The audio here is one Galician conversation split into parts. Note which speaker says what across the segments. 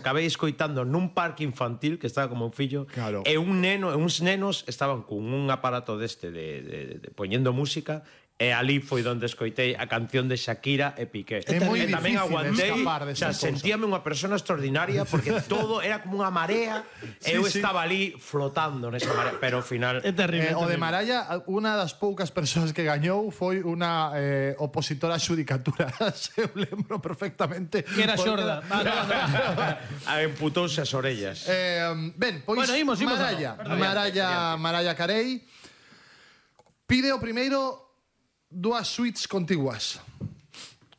Speaker 1: acabei escoitando nun parque infantil que estaba como un fillo,
Speaker 2: Claro.
Speaker 1: e uns nenos estaban con un aparato deste de poñendo música, e ali foi onde escoitei a canción de Shakira e Piqué.
Speaker 2: É moi
Speaker 1: E tamén
Speaker 2: difícil
Speaker 1: aguantei,
Speaker 2: escapar
Speaker 1: o
Speaker 2: desta
Speaker 1: sea,
Speaker 2: cousa.
Speaker 1: sentíame unha persona extraordinaria porque todo era como unha marea e eu estaba ali flotando nesa marea, pero ao final
Speaker 3: É terrible.
Speaker 2: O de Maraya, unha das poucas persoas que gañou foi unha opositora a xudicatura. Se eu lembro perfectamente.
Speaker 3: Que era xorda.
Speaker 1: Emputouse as orellas.
Speaker 2: Ben, pois
Speaker 3: Bueno, imos
Speaker 2: Maraya,
Speaker 3: Perdón.
Speaker 2: Maraya Carey pide o primeiro dúas suites contiguas.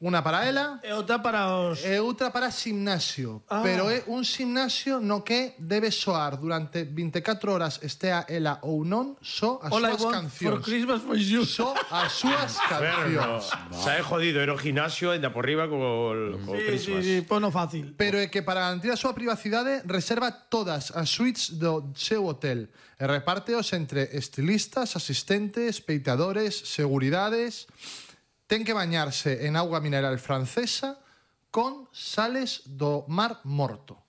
Speaker 2: Unha para ela
Speaker 3: E outra para os...
Speaker 2: e outra para gimnasio. Pero é un gimnasio no que debe soar durante 24 horas, estea ela ou non, só as
Speaker 3: All I
Speaker 2: súas
Speaker 3: want for
Speaker 2: cancións.
Speaker 3: Christmas was you.
Speaker 2: Só as súas cancións.
Speaker 1: Se é jodido, era o gimnasio e da por riba co Christmas.
Speaker 3: Sí, pono fácil.
Speaker 2: Pero é que para garantir a súa privacidade reserva todas as suites do seu hotel e repárteos entre estilistas, asistentes, peitadores, seguridades. Ten que bañarse en auga mineral francesa con sales do Mar Morto.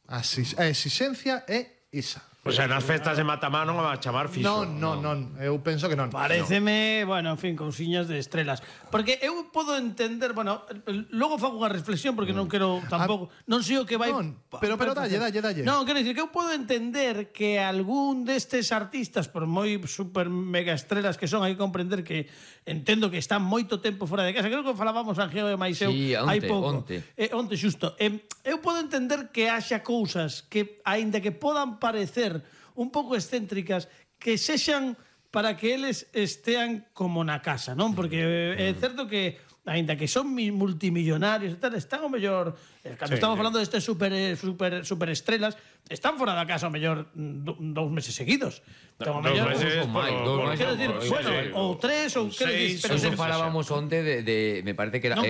Speaker 2: A exixencia é isa.
Speaker 1: O sea, nas festas de Matamá non a chamar fixo.
Speaker 2: Non, eu penso que non.
Speaker 3: Pareceme, bueno, en fin, cousiñas de estrelas. Porque eu podo entender, bueno, logo fago unha reflexión porque non quero tampouco, non sei o que vai...
Speaker 2: Non, pero dalle.
Speaker 3: Non, quero dicir que eu podo entender que algún destes artistas, por moi super mega estrelas que son, hai que comprender que entendo que están moito tempo fora de casa. Creo que falábamos Angeo e máis eu
Speaker 4: Sí,
Speaker 3: hai pouco.
Speaker 4: onte
Speaker 3: Xusto. Eu podo entender que haxa cousas que, aínda que podan parecer un pouco excéntricas, que sexan para que eles estean como na casa, non? Porque é certo que aínda que son multimillonarios e tal, están ao mellor, cando estamos falando destes super estrelas, están fora da casa ao mellor 2 meses seguidos. Entón, ao mellor, quero dicir, bueno, ou 3 ou quero dicir, pero
Speaker 4: Eso falábamos onte de me parece que era non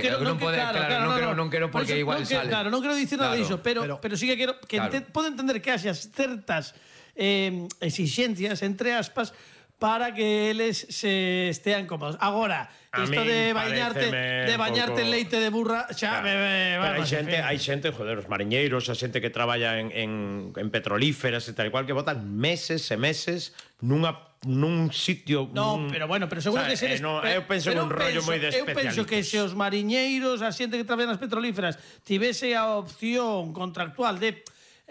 Speaker 4: quero porque igual sale.
Speaker 3: Claro, non quero dicir nada diso, pero sí que quero que podo entender que haxa certas exixencias entre aspas para que eles se estean cómodos. Agora, isto de bañarte en leite de burra, xa
Speaker 1: Pero hai xente, joder, os mariñeiros, a xente que traballa en petrolíferas e tal cual, que botan meses e meses nun sitio...
Speaker 3: No, pero bueno, pero seguro que seres...
Speaker 1: eu penso en un rollo moi de especialistas.
Speaker 3: Eu penso que se os mariñeiros, a xente que traballa nas petrolíferas, tivese a opción contractual de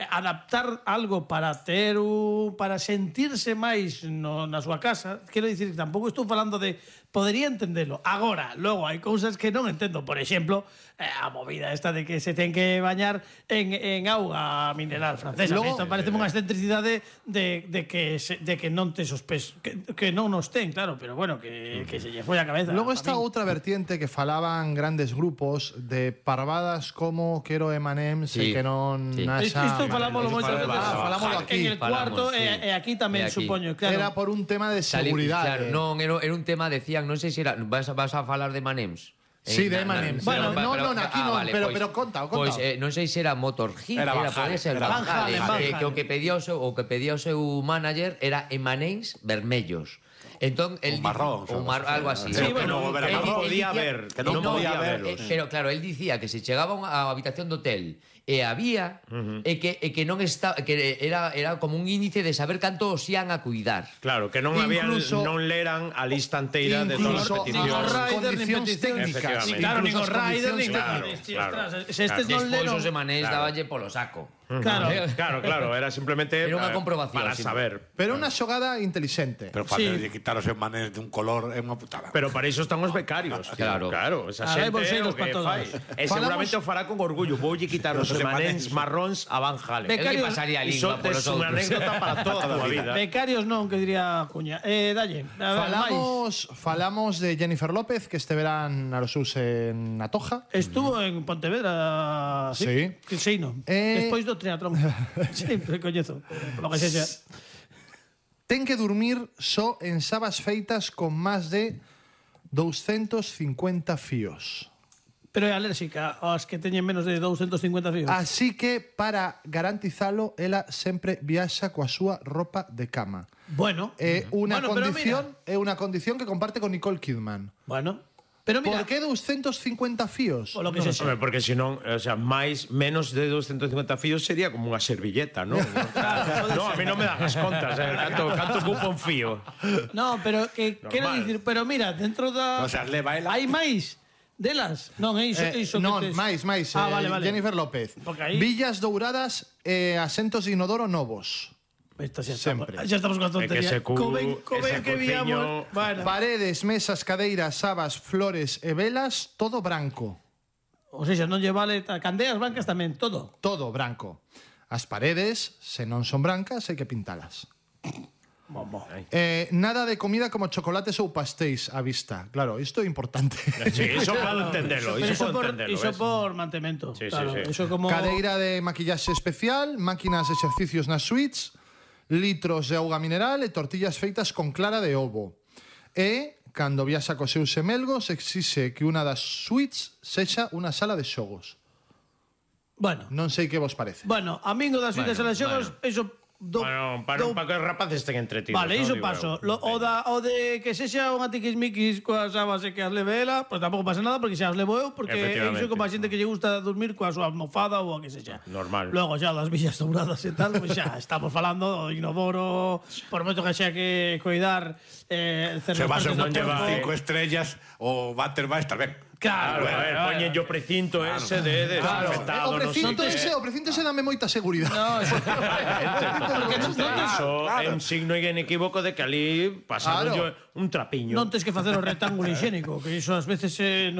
Speaker 3: adaptar algo para sentirse máis na súa casa, quero dicir que tampouco estou falando de podería entenderlo. Agora, logo hai cousas que non entendo, por exemplo, a movida esta de que se ten que bañar en auga mineral francesa. Isto parece unha excentricidade de que non tes os pés, que non nos ten, claro, pero bueno, que se lle foi a cabeza.
Speaker 2: Logo está outra vertiente que falaban grandes grupos de parvadas como Quero M&M's e que non naxa...
Speaker 3: Isto falámoslo moito veces.
Speaker 2: Falámoslo aquí.
Speaker 3: En el cuarto e aquí tamén, supoño, claro.
Speaker 2: Era por un tema de seguridade.
Speaker 4: Claro, non, era un tema, decían, non sei se era, vas a falar de M&M's.
Speaker 2: Sí, de M&M's.
Speaker 3: Bueno,
Speaker 2: aquí non, pero conta.
Speaker 4: Pois non sei se era Motorhead, pode ser Van Halen, que o que pedía o seu manager era M&M's vermellos. Entón, el
Speaker 5: marrón,
Speaker 4: algo así.
Speaker 1: Sí, bueno, que non podía ver,
Speaker 4: pero claro, él dicía que se chegaba a habitación do hotel e había que non está, que era como un índice de saber canto os ian a cuidar.
Speaker 1: Claro, que non leran a lista inteira de todas as peticións.
Speaker 2: Condicións técnicas.
Speaker 3: Claro, nin os riders, nin se estes non leron...
Speaker 4: Despois os emanés daballe polo saco.
Speaker 1: Claro, era simplemente
Speaker 4: era unha comprobación
Speaker 1: para saber.
Speaker 2: Pero unha xogada intelixente.
Speaker 5: Pero facerlle quitar os emanes dun color é unha putada.
Speaker 1: Pero para iso están os becarios. Claro, esa xente é o que fai. E seguramente o fará con orgullo. Voulle quitar os emanes marróns a Van Halen.
Speaker 4: Becarios pasaría a lingua por os outros.
Speaker 1: Unha anécdota para toda a vida.
Speaker 3: Becarios non, que diría Cuña. Dalle.
Speaker 2: Falamos de Jennifer López, que este verán a los seus en Atoja.
Speaker 3: Estuvo en Pontevedra, sí. Despois do triatlón. Sí, coñezo. Lo que sexa.
Speaker 2: Ten que dormir só en sabas feitas con máis de 250 fíos.
Speaker 3: Pero é alérxica aos que teñen menos de 250 fíos.
Speaker 2: Así que, para garantizalo, ela sempre viaxa coa súa roupa de cama.
Speaker 3: Bueno.
Speaker 2: É unha condición que comparte con Nicole Kidman.
Speaker 3: Bueno. Pero mira,
Speaker 2: Por que 250 fíos?
Speaker 3: o lo que sexa.
Speaker 1: Home, porque senón, o sea, menos de 250 fíos sería como unha servilleta, non? No, a mí non me dan as contas, canto ocupa un fío.
Speaker 3: No, pero que quero
Speaker 1: Normal.
Speaker 3: dicir, pero mira, dentro da
Speaker 5: O sea, leva ela.
Speaker 3: hai máis delas. Non, é iso
Speaker 2: Non,
Speaker 3: que tes.
Speaker 2: máis.
Speaker 3: Vale.
Speaker 2: Jennifer López.
Speaker 3: Porque aí-
Speaker 2: Villas douradas e asentos de inodoro novos.
Speaker 3: Esta xa
Speaker 2: Sempre.
Speaker 3: Xa estamos con a
Speaker 1: É que
Speaker 3: tontería.
Speaker 1: ese cu- ese
Speaker 3: que
Speaker 1: cuciño-
Speaker 3: víamos. Bueno.
Speaker 2: Paredes, mesas, cadeiras, sabas, flores e velas, todo branco.
Speaker 3: O sea, non lle vale candeas blancas tamén, todo.
Speaker 2: Todo branco. As paredes, se non son brancas, hai que pintalas. Nada de comida como chocolates ou pastéis á vista. Claro, isto é importante.
Speaker 1: Sí, iso podo entendelo,
Speaker 3: Pero
Speaker 1: iso podo entendelo.
Speaker 3: Iso
Speaker 1: ves?
Speaker 3: por mantemento.
Speaker 1: Sí, sí,
Speaker 3: claro,
Speaker 1: sí.
Speaker 3: Iso como
Speaker 2: Cadeira de maquillaxe especial, máquinas de exercicios nas suites, litros de auga mineral e tortillas feitas con clara de ovo. E, cando viaxa cos seus semelgos, exixe que unha das suites sexa unha sala de xogos.
Speaker 3: Bueno,
Speaker 2: Non sei que vos parece.
Speaker 3: a min o das fitas e las xogos, iso
Speaker 1: Bueno, para que os rapaces estén entretidos.
Speaker 3: Vale,
Speaker 1: non?
Speaker 3: iso
Speaker 1: Digo
Speaker 3: paso.
Speaker 1: eu.
Speaker 3: O de que sexa unha tiquismiquis coas sabas e que as leve ela, pois tampouco pasa nada porque xa as levo eu, porque
Speaker 1: Efectivamente.
Speaker 3: iso como a xente que lle gusta dormir coa súa almofada ou a que sexa.
Speaker 1: Normal.
Speaker 3: Logo xa das villas douradas e tal, pois xa estamos falando do inodoro, por moito que xa que cuidar
Speaker 5: Se vas a
Speaker 3: certas partes do
Speaker 5: un hotel
Speaker 3: corpo.
Speaker 5: 5 estrellas, o váter vai estar ben.
Speaker 3: Claro,
Speaker 1: Claro, a ver, poñen yo precinto ese de desinfectado,
Speaker 2: O
Speaker 1: non sei
Speaker 2: precinto
Speaker 1: que.
Speaker 2: ese dame moita seguridade.
Speaker 3: No,
Speaker 1: Iso é un signo inequívoco de que ali pasaron
Speaker 2: Claro.
Speaker 1: un trapiño.
Speaker 3: non tes que facer o rectángulo higiénico, que iso ás veces en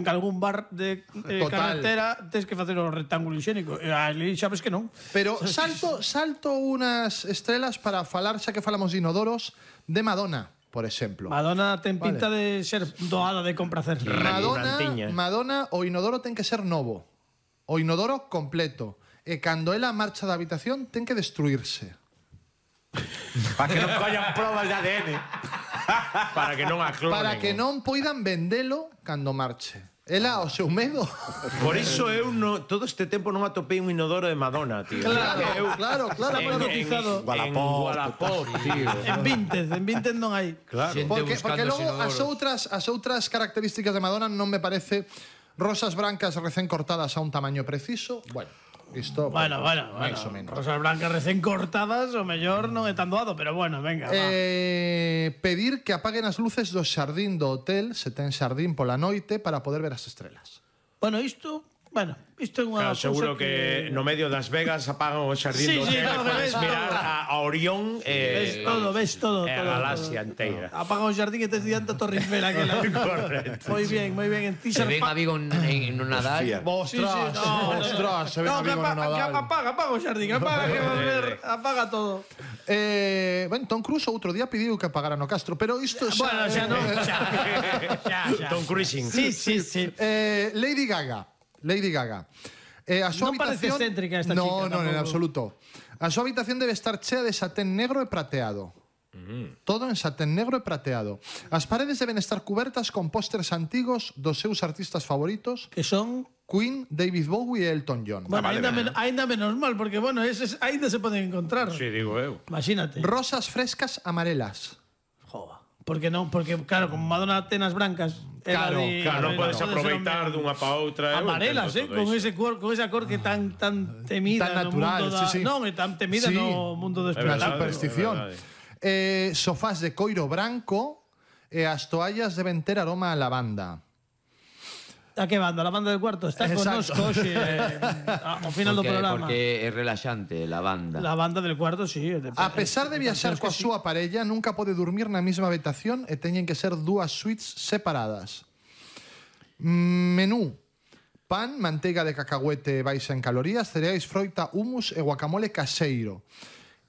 Speaker 3: algún bar de
Speaker 2: Total.
Speaker 3: carretera tes que facer o rectángulo higiénico. E ali sabes que non.
Speaker 2: Pero salto unas estrelas para falar, xa que falamos de inodoros, de Madonna, por exemplo.
Speaker 3: Madonna ten pinta de ser doada de compracer.
Speaker 1: Rantiña.
Speaker 2: Madonna, o inodoro ten que ser novo. O inodoro completo. E cando ela marcha da habitación, ten que destruirse.
Speaker 5: Para que non collan probas de ADN.
Speaker 1: Para que non a clonen.
Speaker 2: Para que non poidan vendelo cando marche. Ela, o seu medo.
Speaker 1: Por iso eu todo este tempo non atopei un inodoro de Madonna, tío.
Speaker 2: Claro.
Speaker 3: Está moi cotizado.
Speaker 1: En Wallapop, tío.
Speaker 3: En Vinted non hai.
Speaker 1: Claro.
Speaker 4: Xente
Speaker 2: Porque
Speaker 4: buscando
Speaker 2: logo
Speaker 4: inodoros.
Speaker 2: as outras características de Madonna non me parece rosas brancas recén cortadas a un tamaño preciso. Bueno, isto
Speaker 3: Bueno.
Speaker 2: máis ou menos.
Speaker 3: Rosas blancas recén cortadas, o mellor non é tan doado, pero bueno, venga, va.
Speaker 2: Pedir que apaguen as luces do xardín do hotel, se ten xardín pola noite, para poder ver as estrelas.
Speaker 3: Isto é unha
Speaker 1: Claro, seguro
Speaker 3: cousa
Speaker 1: que no medio das Vegas apagan o xardín
Speaker 3: Sí,
Speaker 1: do
Speaker 3: sí,
Speaker 1: hotel
Speaker 3: claro,
Speaker 1: e podes
Speaker 3: ves
Speaker 1: mirar
Speaker 3: todo.
Speaker 1: a Orión
Speaker 3: ves todo.
Speaker 1: e a galaxia inteira.
Speaker 3: Apaga o xardín e tes diante a Torre Eiffel aquela.
Speaker 1: Correcto.
Speaker 3: Moi bien. En ti
Speaker 4: Se ven a Vigo en un Nadal.
Speaker 5: Hostia.
Speaker 2: Ostras, se ven a Vigo no Nadal.
Speaker 3: Apaga o xardín, apaga que vas ver, apaga todo.
Speaker 2: Tom Cruise outro día pediu que apagara no Castro, pero isto
Speaker 3: Bueno, xa non, xa.
Speaker 1: Tom Cruising.
Speaker 3: Sí.
Speaker 2: Lady Gaga. A súa
Speaker 3: Non parece
Speaker 2: habitación
Speaker 3: excéntrica esta
Speaker 2: no,
Speaker 3: chica,
Speaker 2: Non, en
Speaker 3: tampouco.
Speaker 2: absoluto. A súa habitación debe estar chea de satén negro e prateado. Todo en satén negro e prateado. As paredes deben estar cubertas con pósters antigos dos seus artistas favoritos,
Speaker 3: Que son
Speaker 2: Queen, David Bowie e Elton John.
Speaker 3: Bueno,
Speaker 5: vale,
Speaker 3: ainda menos mal, porque, eses ainda se poden encontrar.
Speaker 1: Sí, digo eu.
Speaker 3: Imagínate.
Speaker 2: Rosas frescas amarelas.
Speaker 3: Joder. Porque, claro, como Madonna ten as blancas...
Speaker 2: Claro,
Speaker 1: Claro, non podes
Speaker 3: pode ser
Speaker 1: aproveitar dunha pa outra. eu
Speaker 3: amarelas,
Speaker 1: entendo
Speaker 3: con
Speaker 1: todo
Speaker 3: ese con esa cor que tan temida
Speaker 2: Tan
Speaker 3: no
Speaker 2: natural,
Speaker 3: mundo da...
Speaker 2: sí.
Speaker 3: Non, é tan temida
Speaker 2: Sí.
Speaker 3: no mundo do
Speaker 1: É verdade,
Speaker 3: espectáculo.
Speaker 2: Superstición.
Speaker 1: é verdade.
Speaker 2: Sofás de coiro branco e as toallas deben ter aroma a lavanda.
Speaker 3: A que banda? La banda del cuarto está
Speaker 2: Exacto.
Speaker 3: connosco hoxe ao final do programa.
Speaker 4: Porque é relaxante la banda.
Speaker 3: La banda del cuarto, sí.
Speaker 2: A pesar de viaxar coa súa parella, nunca pode dormir na mesma habitación e teñen que ser dúas suites separadas. Menú: pan, manteiga de cacahuete baixa en calorías, cereais, froita, hummus e guacamole caseiro.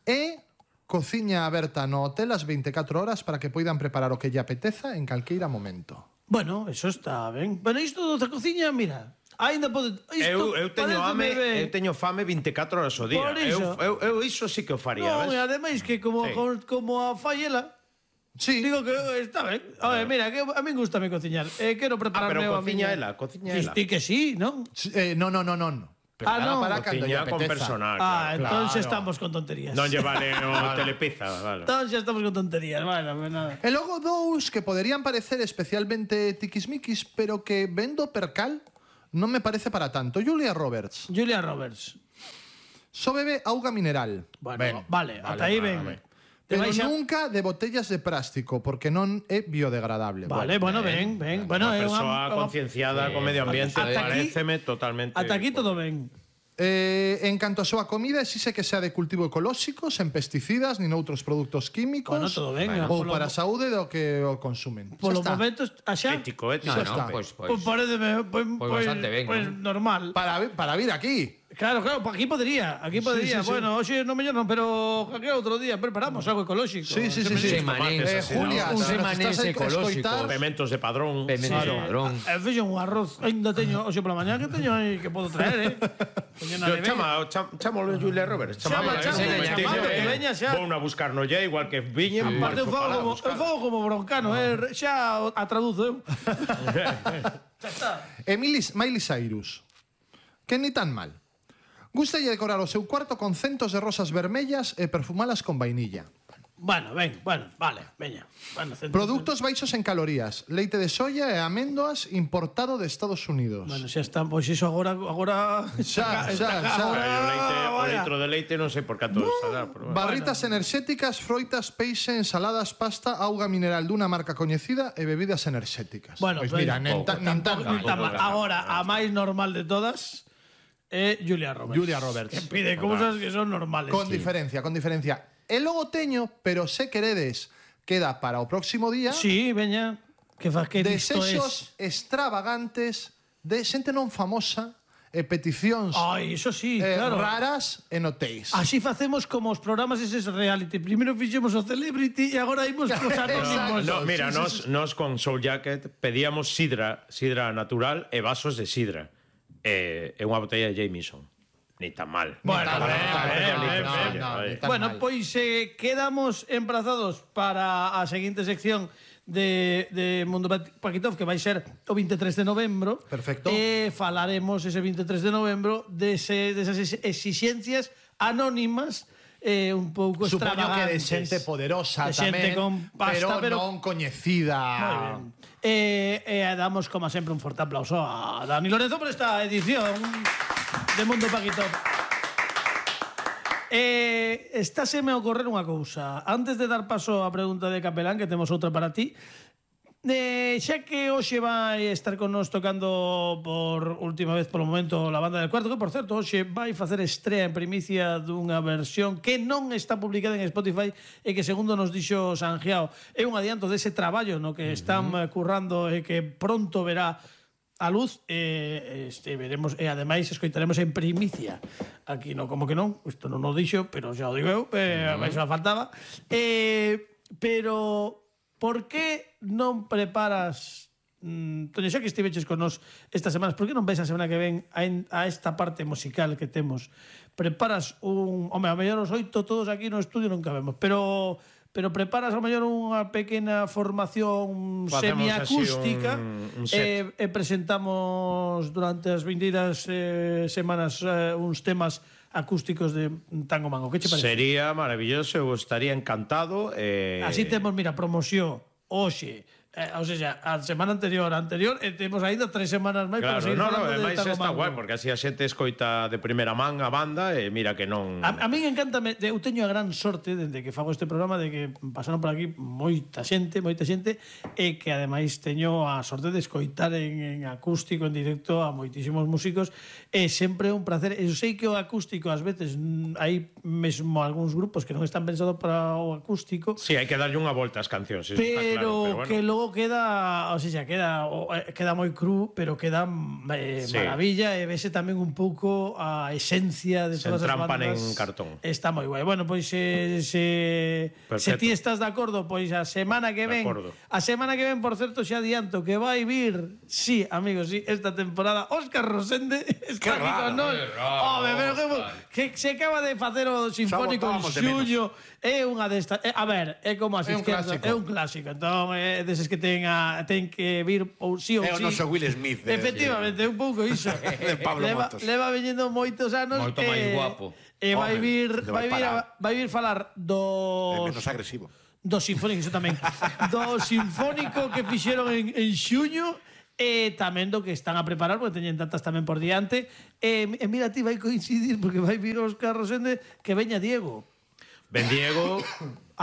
Speaker 2: E cociña aberta no hotel as 24 horas para que poidan preparar o que lle apeteza en calqueira momento.
Speaker 3: Bueno, eso está ben. Bueno, isto da cociña, mira, aínda pode...
Speaker 1: Eu teño fame 24 horas ao día.
Speaker 3: Por iso.
Speaker 1: Eu iso sí que o faría,
Speaker 3: Non, e
Speaker 1: ves?
Speaker 3: ademais que como,
Speaker 1: Sí.
Speaker 3: como a faiela,
Speaker 2: Sí,
Speaker 3: digo que está ben. A ver, mira, que a min gustame cociñar. Quero prepararme
Speaker 1: pero
Speaker 3: a miña...
Speaker 1: cociña ela.
Speaker 3: Sí, que sí, non?
Speaker 2: non.
Speaker 3: no.
Speaker 2: para cando lle
Speaker 1: Cociña con
Speaker 2: apeteza.
Speaker 1: personal.
Speaker 3: Entón xa
Speaker 2: Claro.
Speaker 3: estamos con tonterías.
Speaker 1: Non lle vale o telepizza, vale.
Speaker 3: Entón xa estamos con tonterías, bueno, pues nada.
Speaker 2: E logo dous que poderían parecer especialmente tiquismiquis, pero que vendo percal non me parece para tanto. Julia Roberts.
Speaker 3: Julia Roberts.
Speaker 2: Só bebe auga mineral.
Speaker 3: Bueno, vale, ata aí ben. Te
Speaker 2: Pero
Speaker 3: vais a-
Speaker 2: nunca de botellas de plástico, porque non é biodegradable.
Speaker 3: Vale, bueno, ben. Bueno,
Speaker 1: Unha
Speaker 3: é
Speaker 1: persoa concienciada co medio ambiente
Speaker 3: Ata aquí-
Speaker 1: pareceme totalmente...
Speaker 3: Ata aquí todo ben.
Speaker 2: En canto a súa comida, exige que sea de cultivo ecolóxico, sen pesticidas, nin outros produtos químicos.
Speaker 3: Bueno, todo ben.
Speaker 2: Ou para a saúde do que o consumen.
Speaker 3: Polo
Speaker 2: Xa está.
Speaker 3: momento, xa...
Speaker 1: Ético, ético.
Speaker 2: Xa está.
Speaker 4: Pues,
Speaker 3: Pues pareceme, pues
Speaker 4: bastante ben,
Speaker 3: pues
Speaker 4: ¿no?
Speaker 3: normal.
Speaker 2: Para vir aquí.
Speaker 3: Claro, aquí podría.
Speaker 2: sí.
Speaker 3: Bueno, hoxe no mellor non, pero aquel outro día preparamos algo ecolóxico.
Speaker 2: Sí.
Speaker 4: Semanés,
Speaker 2: Julia,
Speaker 4: un
Speaker 2: se nos
Speaker 4: semanés
Speaker 2: estás a
Speaker 4: ecolóxico.
Speaker 2: escoitar.
Speaker 1: Pementos de padrón.
Speaker 4: Pementos de padrón.
Speaker 3: Fixen un arroz, ainda teño hoxe pola mañá que teño aí que podo traer, Teño na nevera.
Speaker 1: Chámalo Julia Roberts.
Speaker 3: Chama, que veña xa.
Speaker 1: Vou a buscar no lle, igual que viñen.
Speaker 3: Aparte eu fago como broncano, xa a traduzo eu. Xa está.
Speaker 2: Miley Cyrus. Que ni tan mal. Gustalle decorar o seu cuarto con centos de rosas vermellas e perfumalas con vainilla.
Speaker 3: Bueno, vale, veña. Bueno,
Speaker 2: Produtos baixos en calorías, leite de soya e améndoas importado de Estados Unidos.
Speaker 3: Bueno, xa está, pois iso agora
Speaker 2: Xa.
Speaker 1: O litro de leite non sei por canto estará.
Speaker 2: Barritas enerxéticas, froitas, peixe, ensaladas, pasta, auga mineral dunha marca coñecida e bebidas enerxéticas.
Speaker 3: Bueno,
Speaker 2: pois
Speaker 3: pues,
Speaker 2: mira, nin tan mal.
Speaker 3: Agora, a máis normal de todas é Julia Roberts.
Speaker 2: Julia Roberts.
Speaker 3: Que pide cousas que son normales.
Speaker 2: Con diferencia. E logo teño, pero se queredes, queda para o próximo día,
Speaker 3: Sí, veña. Que faz que isto
Speaker 2: desexos extravagantes de xente non famosa e peticións
Speaker 3: Ai, iso sí, claro.
Speaker 2: raras en hotéis.
Speaker 3: Así facemos como os programas eses reality. Primeiro fixemos o Celebrity e agora imos cos anónimos.
Speaker 1: No, mira, nos con Soul Jacket pedíamos sidra natural e vasos de sidra. E unha botella de Jameson. Ni tan mal.
Speaker 3: Bueno,
Speaker 2: tan
Speaker 3: Bueno,
Speaker 2: mal.
Speaker 3: pois quedamos emprazados para a seguinte sección de Mundo Paquitov, que vai ser o 23 de novembro.
Speaker 2: Perfecto.
Speaker 3: E falaremos ese 23 de novembro desas exixencias anónimas un pouco
Speaker 2: Supoño que de
Speaker 3: extravagantes.
Speaker 2: xente poderosa
Speaker 3: De xente
Speaker 2: tamén,
Speaker 3: con pasta, pero
Speaker 2: non coñecida.
Speaker 3: Moi ben. Damos, como sempre, un forte aplauso a Dani Lorenzo por esta edición de Mundo Paquitov. Estáse me a ocorrer unha cousa. Antes de dar paso á pregunta de Capelán, que temos outra para ti, xa que hoxe vai estar con nos tocando por última vez polo momento la banda del cuarto, que por certo hoxe vai facer estrea en primicia dunha versión que non está publicada en Spotify e que segundo nos dixo Sanjiao é un adianto dese traballo no que están currando e que pronto verá a luz veremos e ademais escoitaremos en primicia aquí no como que non, isto non o dixo pero xa o digo eu, xa faltaba pero por que non preparas Toño, xa que estiveches con nos estas semanas, por que non ves a semana que ven a esta parte musical que temos? Preparas un... Home, a mellor os 8 todos aquí no estudio non cabemos, pero preparas a mellor unha pequena formación
Speaker 1: Facemos
Speaker 3: semiacústica
Speaker 1: así un set.
Speaker 3: e presentamos durante as vindeiras semanas uns temas acústicos de Tango Mango. Que che parece?
Speaker 1: Sería maravilloso, eu estaría encantado.
Speaker 3: Así temos, mira, promoción hoxe, ou sea, a semana anterior, e temos ainda 3 semanas máis para
Speaker 1: Claro,
Speaker 3: seguir falando de
Speaker 1: ademais
Speaker 3: Tango
Speaker 1: está
Speaker 3: Mango.
Speaker 1: guai, porque así a xente escoita de primeira man a banda e mira que non...
Speaker 3: A min encántame, eu teño a gran sorte dende que fago este programa de que pasaron por aquí moita xente e que ademais teño a sorte de escoitar en acústico, en directo a moitísimos músicos e sempre é un placer. Eu sei que o acústico ás veces hai mesmo algúns grupos que non están pensados para o acústico.
Speaker 1: Sí, hai que darlle unha volta ás cancións, eso está
Speaker 3: Pero
Speaker 1: claro,
Speaker 3: que logo queda, o sea, queda moi cru, pero queda
Speaker 1: Sí.
Speaker 3: maravilla e vese tamén un pouco a esencia de
Speaker 1: Se
Speaker 3: todas as
Speaker 1: entrampan
Speaker 3: bandas.
Speaker 1: en cartón.
Speaker 3: Está moi guai. Bueno, pois se ti estás de acordo, pois a semana que ven, por certo, xa adianto que vai vir, sí, amigos, sí, esta temporada Óscar Rosende está aquí con nós. Home, pero que se acaba de facer o Sinfónico en
Speaker 5: botábamos de menos.
Speaker 3: xuño. É unha destas... A ver, é como as
Speaker 2: É un
Speaker 3: izquierdas.
Speaker 2: clásico.
Speaker 3: É un clásico. Entón, é deses que ten que vir ou sí ou
Speaker 5: É o
Speaker 3: sí.
Speaker 5: noso Will Smith.
Speaker 3: Efectivamente, un pouco iso.
Speaker 5: De Pablo Motos.
Speaker 3: Leva viñendo moitos anos.
Speaker 4: Moito máis guapo.
Speaker 3: E vai
Speaker 5: Home,
Speaker 3: vir,
Speaker 5: de vai parar.
Speaker 3: vai vir falar
Speaker 5: É menos agresivo.
Speaker 3: do Sinfónico, iso tamén. Do Sinfónico que fixeron en xuño e tamén do que están a preparar, porque teñen tantas tamén por diante. E mira, ti vai coincidir, porque vai vir Óscar Rosende, que veña Diego.
Speaker 1: Ben Diego...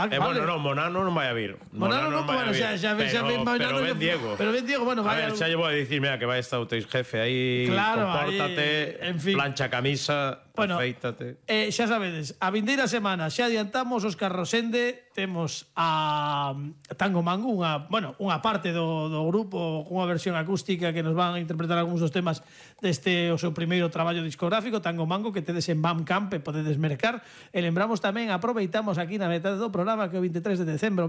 Speaker 3: Ah, vale.
Speaker 1: Bueno, non, Monano non vai a vir.
Speaker 3: Monano non,
Speaker 1: vai a
Speaker 3: bueno,
Speaker 1: vir.
Speaker 3: xa ven Monano.
Speaker 1: Pero ben Diego.
Speaker 3: Pero ben Diego, bueno,
Speaker 1: A
Speaker 3: vai...
Speaker 1: ver, xa lle vou a dicir, mira, que vai estar o teu jefe aí,
Speaker 3: Claro,
Speaker 1: compórtate,
Speaker 3: aí, en fin.
Speaker 1: plancha camisa,
Speaker 3: Bueno,
Speaker 1: afeítate.
Speaker 3: xa sabedes, a vindeira semana xa adiantamos Óscar Rosende, temos a Tango Mango, unha parte do grupo, unha versión acústica que nos van a interpretar algúns dos temas deste o seu primeiro traballo discográfico, Tango Mango, que tedes en Bandcamp e podedes mercar. E lembramos tamén, aproveitamos aquí na metade do programa que o 23 de decembro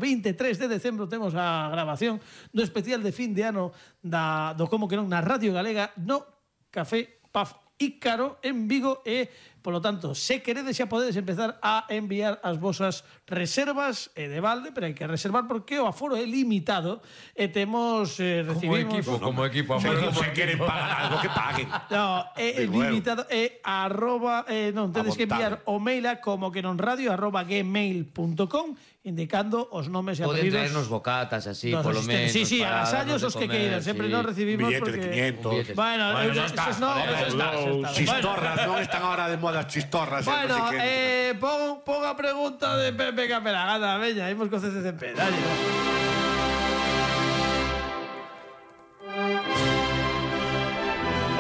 Speaker 3: temos a grabación do especial de fin de ano do Como que non na Radio Galega no Café Paf Ícaro en Vigo e, polo tanto, se queredes xa podedes empezar a enviar as vosas reservas de balde, pero hai que reservar porque o aforo é limitado e temos recibimos
Speaker 4: Como equipo.
Speaker 5: Se queren pagar algo, que paguen.
Speaker 3: No, é
Speaker 5: Digo,
Speaker 3: limitado arroba, non, tedes que enviar o mail a comoquenonradio@gmail.com indicando os nomes e
Speaker 4: Poden
Speaker 3: apelidos
Speaker 4: traernos bocatas así,
Speaker 3: dos
Speaker 4: polo
Speaker 3: asistentes.
Speaker 4: menos.
Speaker 3: Sí,
Speaker 4: para
Speaker 3: agasallos
Speaker 4: darnos
Speaker 3: os
Speaker 4: de
Speaker 3: que
Speaker 4: comer,
Speaker 3: queiran, sempre
Speaker 4: sí.
Speaker 3: non recibimos
Speaker 5: Billete
Speaker 3: porque...
Speaker 5: de 500.
Speaker 3: Bueno,
Speaker 4: Bueno, xa está,
Speaker 3: no,
Speaker 4: joder,
Speaker 3: eso está.
Speaker 5: Chistorras, non están ahora de moda as chistorras.
Speaker 3: Bueno,
Speaker 5: non sei que.
Speaker 3: pon a pregunta de Pepe Capelán. Anda, veña, imos co CCCP. Dale.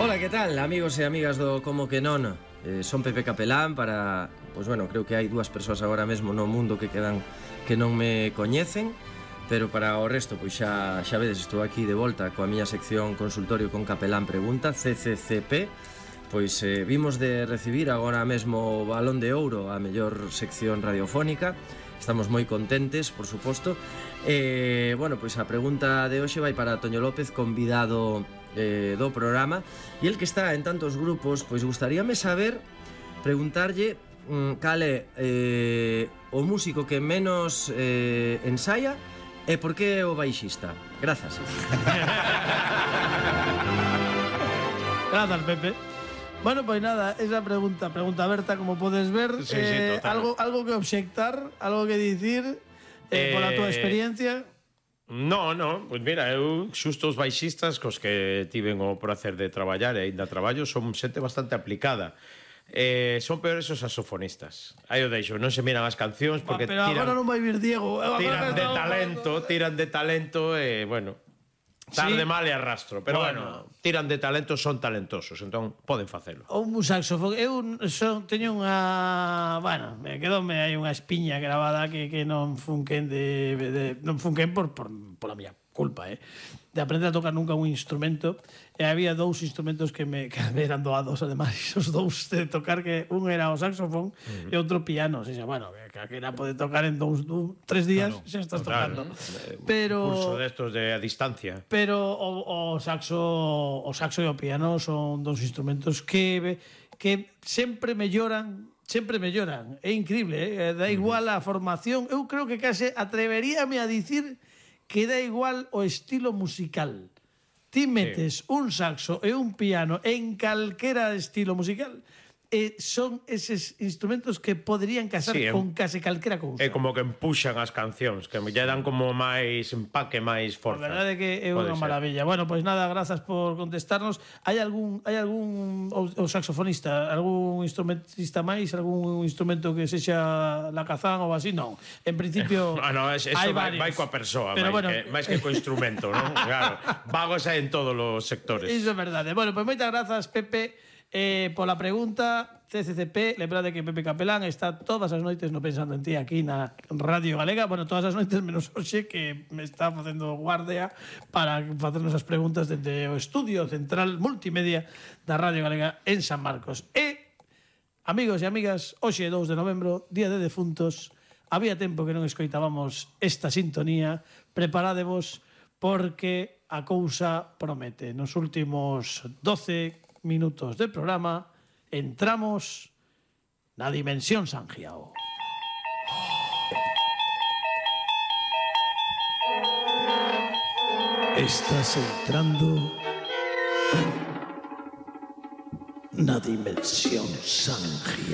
Speaker 6: Ola, que tal, amigos e amigas do Como que non? Son Pepe Capelán para... Pois bueno, creo que hai dúas persoas agora mesmo no mundo que quedan que non me coñecen, pero para o resto, pois xa vedes, estou aquí de volta coa miña sección Consultorio con Capelán Pregunta, CCCP. Pois vimos de recibir agora mesmo o Balón de Ouro, a mellor sección radiofónica. Estamos moi contentes, por suposto. Bueno, pois a pregunta de hoxe vai para Toño López, convidado do programa. E el que está en tantos grupos, pois gustaríame saber, preguntarlle cal é o músico que menos ensaya e por que é o baixista. Grazas.
Speaker 3: Grazas, Pepe. Bueno, pois nada, esa pregunta aberta, como podes ver.
Speaker 1: Sí, total.
Speaker 3: Algo que obxectar, algo que dicir pola túa experiencia.
Speaker 1: No, pois mira, eu xusto os baixistas cos que tiven o prazer de traballar e ainda traballo son xente bastante aplicada. Son peores os saxofonistas. Aí o deixo, non se miran as cancións porque
Speaker 3: Pero agora non vai vir Diego.
Speaker 1: tiran de talento e, bueno, tarde
Speaker 3: Sí.
Speaker 1: mal e arrastro. Pero
Speaker 3: Bueno.
Speaker 1: tiran de talento, son talentosos, entón poden facelo.
Speaker 3: Un saxofón. Eu teño unha... Bueno, quedoume aí unha espiña grabada que non funquen non funquen pola miña culpa, de aprender a tocar nunca un instrumento. E había dous instrumentos que me eran doados, ademais, os dous de tocar, que un era o saxofón e outro piano. O sea, bueno, que calquera pode tocar en 3 días, xa estás tocando. Pero...
Speaker 1: Curso destos de a distancia.
Speaker 3: Pero o saxo e o piano son dous instrumentos que sempre melloran. É increíble, dá igual a formación. Eu creo que case atreveríame a dicir que dá igual o estilo musical. Ti metes un saxo e un piano en calquera estilo musical e son eses instrumentos que poderían casar con case calquera cousa.
Speaker 1: É como que empuxan as cancións, que lle dan como máis empaque, máis
Speaker 3: A
Speaker 1: forza.
Speaker 3: verdade é que é
Speaker 1: Pode
Speaker 3: unha
Speaker 1: ser.
Speaker 3: maravilla. Bueno, pois nada, grazas por contestarnos. Hai algún o saxofonista, algún instrumentista máis, algún instrumento que sexa la cazán ou así? Non. En principio
Speaker 1: Eso
Speaker 3: hai
Speaker 1: vai
Speaker 3: varios.
Speaker 1: coa persoa,
Speaker 3: Pero bueno,
Speaker 1: máis que co instrumento, non? Claro, vagos hai en todos os sectores.
Speaker 3: Iso é verdade. Bueno, pois moitas grazas, Pepe, pola pregunta. CCCP, lembrade que Pepe Capelán está todas as noites no Pensando en Ti aquí na Radio Galega. Bueno, todas as noites menos hoxe, que me está facendo guardia para facernos as preguntas dende o estudio central multimedia da Radio Galega en San Marcos. E, amigos e amigas, hoxe 2 de novembro, Día de Defuntos. Había tempo que non escoitábamos esta sintonía. Preparádevos porque a cousa promete. Nos últimos 12 minutos de programa entramos na dimensión Sanjiao. Estás entrando na dimensión Sanjiao.